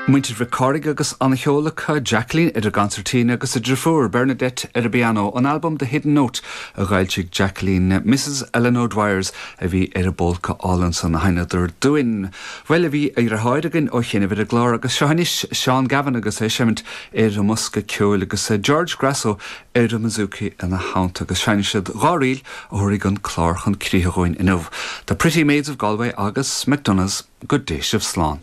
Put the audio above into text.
Muintir Mhic Cárthaigh agus an-cheol acu, Jacqueline ar an gconsairtín agus a driofúr Bernadette ar an bpianó, ón albam The Hidden Note a d'fhoilsigh Jacqueline. Mrs Ellen O'Dwyers a bhí ar an bpólca álainn san a sheinneadar dúinn. Bhuel, bhí a dheartháir againn ó chianaibh ar an gclár agus seo anois Seán Gavin agus é ag seimint ar an mbosca ceoil agus George Grasso ar an mbouzouki ina theannta agus seinnfidh siad 2 ríl a thabharfaidh an clár chun críche dhúinn inniu, The Pretty Maids of Galway agus McDonagh's. Go dté sibh slán.